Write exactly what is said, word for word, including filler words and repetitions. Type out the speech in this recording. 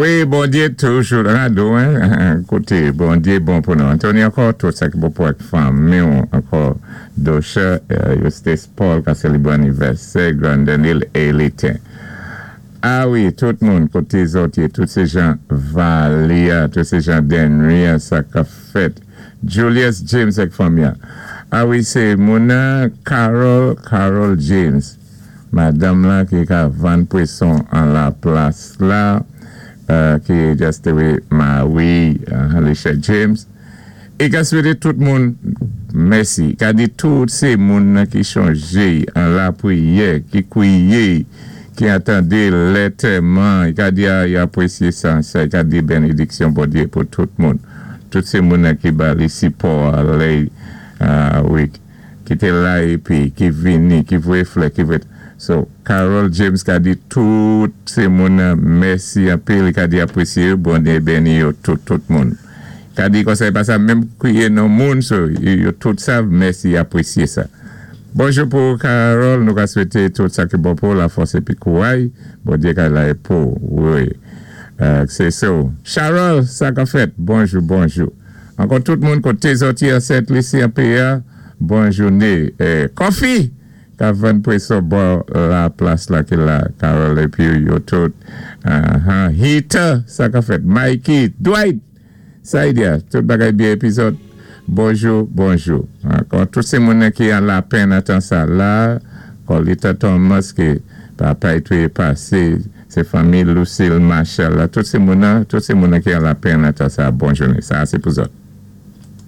Wi, Bondyé toujou rado, en? Kouté, Bondyé bon pou nou. Anthony ankò, tout sa ki bon pou ak fanmi ankò, Dosha, Eustace Paul, ka sélébwé anivèsè, Grand Daniel Elitin. A wi, tout moun, koté zòt yé, tout sé jan Valia, tout sé jan Denria, sa ka fèt. Julius James ak fanmi. A wi, sé moun Carol, Carol James. Madanm la ki ka vann pwason an la plas la, euh, ki just wi, Marie, uh, Alicia James. É ka swété tout moun mèsi. Ka di tout sé moun ki chonjé an lapriyè, ki kwiyé, ki atandé lantèman, i ka di a, i apwésyé sa, sa, i ka di bénédiksyon Bondyé pou tout moun. Tout sé moun ki ba li sipò lè, uh, wi, ki té la épi, ki vini, ki voyé flè, ki voyé. So, Carol James ka di tout sé moun mèsi anpil, i ka di apwésyé, Bondyé béni yo tout, tout moun. Ka di konsa pa sa menm kwiyé non moun, so, yo tout sav mèsi apwésyé sa. Bonjou pou Carol, nou ka swété tout sa ki bon pou la fòs épi kouray, Bondyé ka la pou, wi. Euh, sé so. Charol, sa ka fèt, bonjou, bonjou. Ankò tout moun koté zòt yé an Sent Lisi an P A, bon jouné. Eh, Kofi, ka vann pwason bò la plas la ki la, Carol épi yo tout. Uh-huh. Heater, sa ka fèt. Mikey, Dwight, sa y diya, tout bagay byen épi zòt. Bonjou, bonjou. Ankò tout sé moun ki an lapenn atan sa la, Colita Thomas ki papa y touye pasé, sé fanmi Lucille Marshall la, tout sé moun tout sé moun ki an lapenn atan sa, bon jouné. Sa sé pou zòt.